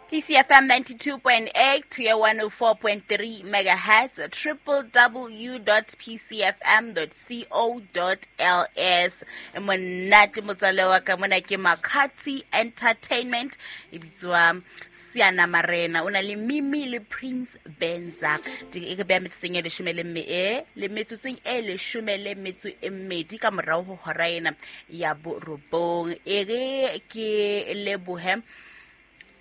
PCFM 92.8 to your 104.3 megahertz, www.pcfm.co.ls. Monate motswalle wa ka mona ke Makatsi Entertainment e bitswa Siana Marena o na le Mimi le Prince Benza. E re beha metsotsong e leshome le mme e le metsotsong e leshome le metso e mmedi ka morao ho hora ena ya borobong. E re ke lebohe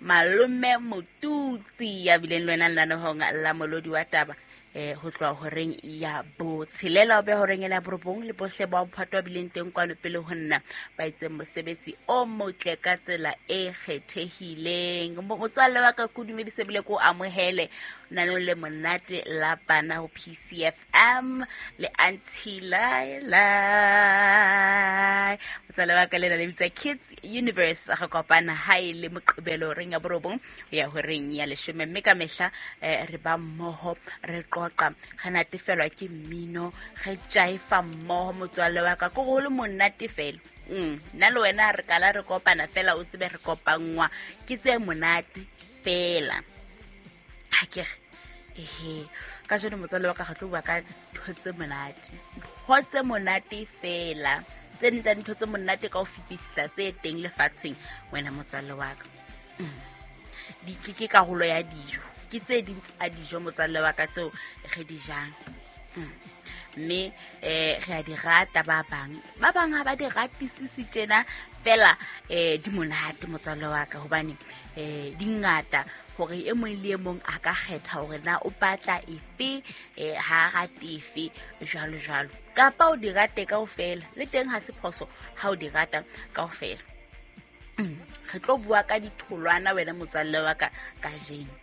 Malome Motutsi ya bileng le wena lenanehong la molodi wa taba ho tloha horeng ya botshelela o be horeng ena ya borobong le bohle ba bophato ba bileng teng kwano pele ho nna ba itseng mosebetsi o motle ka tsela e kgethehileng. Motswalle wa ka ko dumedise bile ko amohele nanong le monate la bana ho PCFM le Auntie Laila. Motswalle wa ka lena le bitsa Kids Universe re kopana ha e le Moqebelo horeng ya borobong ho ya horeng ya leshome mme ka mehla re ba mmoho re qoqa re natefelwa ke mmino re jaifa mmoho motswalle wa ka ko go le monate fela. Nna le wena re kala re kopana fela o tsebe re kopanngwa ke tse monate fela. Ha ke re ehe ka jeno motswalle wa ka re tlo bua ka ntho tse monate, ntho tse monate fela, tse ding tsa dintho tse monate ka ho fetisisa tse teng lefatsheng wena motswalle wa ka. Ke karolo ya dijo, ke tse ding tsa dijo motswalle wa ka tseo re di jang. Mme re a di rata ba bang, ba bang ha ba di ratisise tjena fela, di monate motswalle wa ka hobane di ngata hore e mong le e mong a ka kgetha hore na o batla efe, ha a rate efe jwalo jwalo, kapa o di rate kaofela le teng ha se phoso ha o di rata kaofela. Re tlo bua ka ditholwana wena motswalle wa ka kajeno.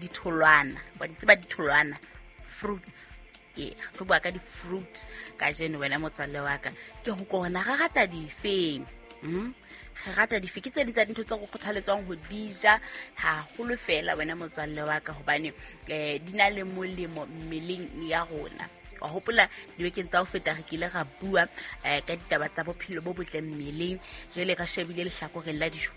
Ditholwana wa di tseba, ditholwana, fruits. Ee, re tlo bua ka di-fruit kajeno wena motswalle wa ka. Ke ho kona re rata difeng? Re rata dife? Ke tse ding tsa dintho tse re kgothaletswang ho di ja haholo fela wena motswalle wa ka hobane di na le molemo mmeleng ya rona. Wa hopola dibekeng tsa ho feta re kile ra bua ka ditaba tsa bophelo bo botle mmeleng, jwale ka shebile lehlakoreng la dijo.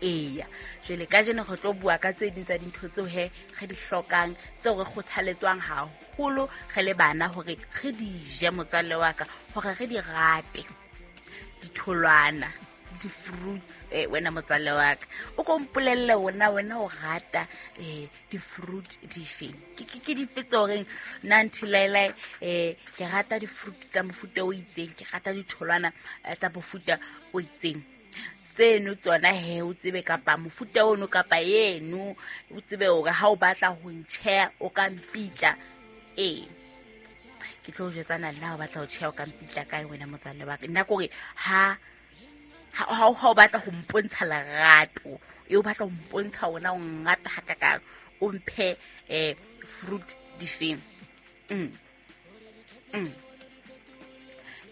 Eya, jwale kajeno re tlo bua ka tse ding tsa dintho tseo he re di hlokang, tseo re kgothaletswang haholo re le bana hore re di je motswalle wa ka, hore re di rate. Ditholwana, di-fruits, wena motswalle wa ka o ko mpolelle wena, wena o rata di-fruit difeng? Ke dife tse horeng nna Nthilailai, ke rata di-fruit tsa mofuta o itseng, ke rata ditholwana tsa mofuta o itseng. Tseno tsona he o tsebe kapa mofuta ono kapa eno o tsebe hore ha o batla ho ntjheha o ka mpitla. Ee, ke tlo o jwetsana nna ha o batla ho tjheha o ka mpitla kae wena motswalle wa ka. Nna ke hore ha o batla ho mpontsha lerato, e o batla ho mpontsha ona o ngata hakakang, o mphe fruit difeng.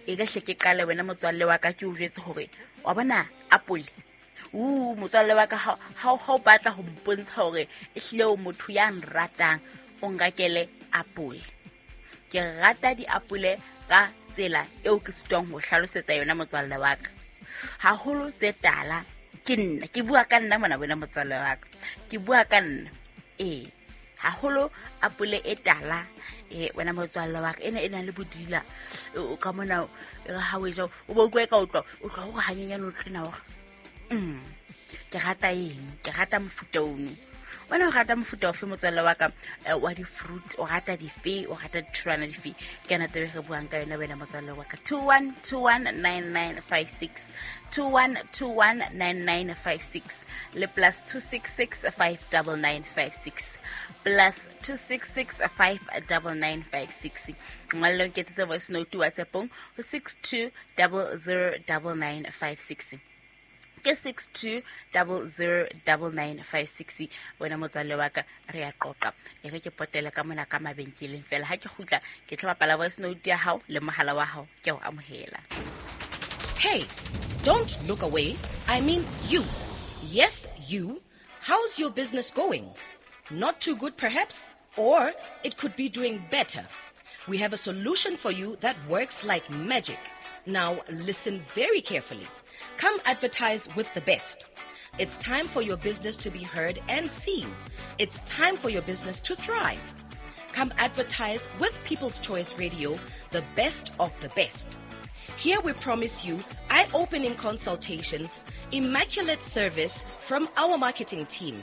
E re hle ke qale wena motswalle wa ka ke o jwetse hore wa bona apole. Motswalle wa ka ha o batla ho mpontsha hore ehlile o motho ya nratang, o nkakele apole. Ke rata diapole ka tsela eo ke sitwang ho hlalosetsa yona motswalle wa ka. Haholo tse tala ke nna, ke bua ka nna mona wena motswalle wa ka. Ke bua ka nna. Ee, haholo apole e tala, wena motswalle wa ka, ena e nang le bodila. O ka mona, e re ha o e ja, o bo utlwa e ka utlwa, o tloha hore hanyenyane o tlena hore, ke rata eng, ke rata mofuta ono. Wena o rata mofuta ofe motswalle wa ka, wa di-fruit, o rata dife, o rata ditholwana dife? Ke yona taba e re buang ka yona wena motswalle wa ka. 21219956, 21219956 le plus two six six five double nine five six, plus two six six five double nine five six. Ngwalle o nketsetse voice note WhatsApp-ong ho six two double zero double nine five six. Ke six two double zero double nine five six. Wena motswalle wa ka, re a qoqa. E re ke potele ka mona ka mabenkeleng fela. Ha ke kgutla, ke tlo bapala voice note ya hao le mohala wa hao. Ke o amohela. Hey, don't look away. I mean you. Yes, you. How's your business going? Not too good perhaps? Or it could be doing better. We have a solution for you that works like magic. Now listen very carefully. Come advertise with the best. It's time for your business to be heard and seen. It's time for your business to thrive. Come advertise with People's Choice Radio, the best of the best. Here we promise you eye opening consultations, immaculate service from our marketing team.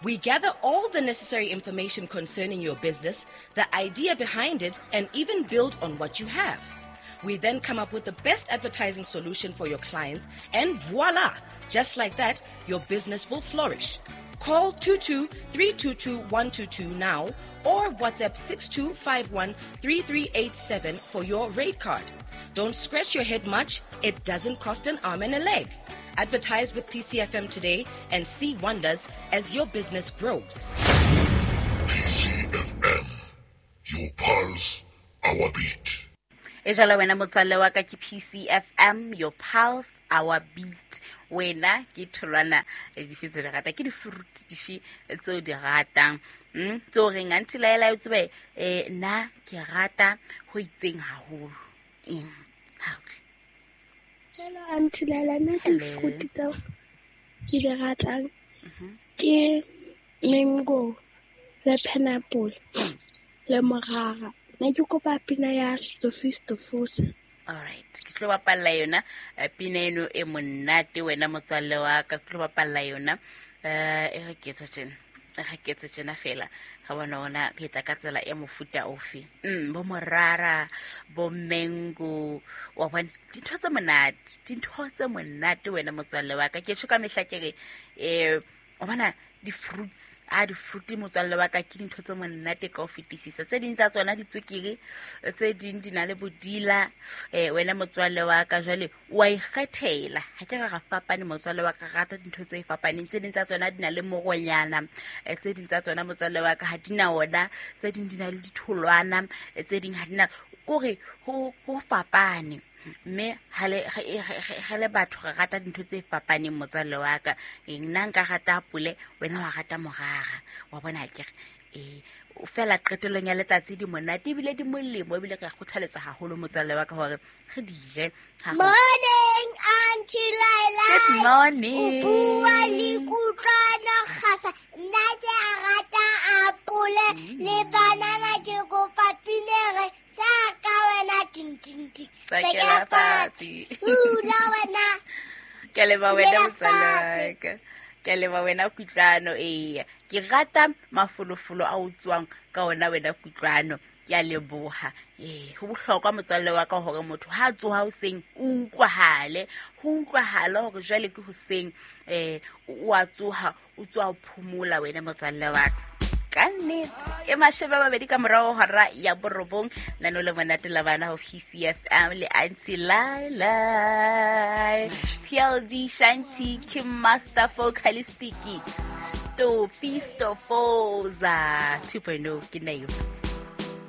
We gather all the necessary information concerning your business, the idea behind it, and even build on what you have. We then come up with the best advertising solution for your clients, and voila! Just like that, your business will flourish. Call 22 322 122 now or WhatsApp 6251 3387 for your rate card. Don't scratch your head much, it doesn't cost an arm and a leg. Advertise with PCFM today and see wonders as your business grows. PCFM, your pulse, our beat. E jalo wena motswalle wa ka ke PCFM, your pulse, our beat. Wena ke tholwana dife tse di ratang, ke di-fruit dife tseo di ratang, tseo reng aunty Laela o tsebe, nna ke rata ho itseng haholo. Eng ha o tle? Hello Aunty Laila, nna ke Hello. di-fruit tseo ke di ratang ke mango le pineapple le morara. Nna ke kopa pina ya Stofi Stofosa. Alright, ke tlo bapalla yona pina eno e monate wena motswalle wa ka, ke tlo bapalla yona. E re ke etsa tjena, e re ke etsa tjena fela. Ga bona ona re etsa ka tsela e mofuta ofe. Bo morara, bo mango, wa bona dintho tse monate, dintho tse monate wena motswalle wa ka. Ke tjho ka mehla ke re, wa bona di-fruits, a di-fruit motswalle wa ka ke dintho tse monate ka ho fetisisa. Tse ding tsa tsona di tswekere, tse ding di na le bodila, wena motswalle wa ka jwale wa ikgethela. Ha ke re ra fapane motswalle wa ka, re rata dintho tse fapaneng. Tse ding tsa tsona di na le moronyana, tse ding tsa tsona motswalle wa ka ha di na ona, tse ding di na le ditholwana, tse ding ha di na, kore ho fapane. Mme ha le, re le batho re rata dintho tse fapaneng motswalle wa ka. Nna nka rata apole, wena wa rata morara. Wa bona akere? Fela qetellong ya letsatsi di monate ebile di molemo, ebile re kgothaletswa haholo motswalle wa ka hore re di je. Ha ho- Morning, Aunty Laila. Good morning. O bua le Kutlwano Kgasa. Nna ke a rata apole le banana, ke kopa pinere sa ka wena tin tin tin. Sakela fatshe. Hula wena. Ke a leboha wena Dula motswalle wa fatshe. ka. Ke a leboha wena Kutlwano. Eya, ke rata mafolofolo a o tswang ka ona wena Kutlwano. Ke a leboha. Ho bohlokwa motswalle wa ka hore motho ha a tsoha hoseng o utlwahale, ho utlwahale hore jwale ke hoseng, o a tsoha, o tswa ho phomola wena motswalle wa ka. Ka nnete e 20 ka morao hora ya 9, lano le monate la bana ho PCFM le Aunty Laila. PLD Shanti Kim Master Vocalistic Stofi Stofoza 2.0 ke nna eo.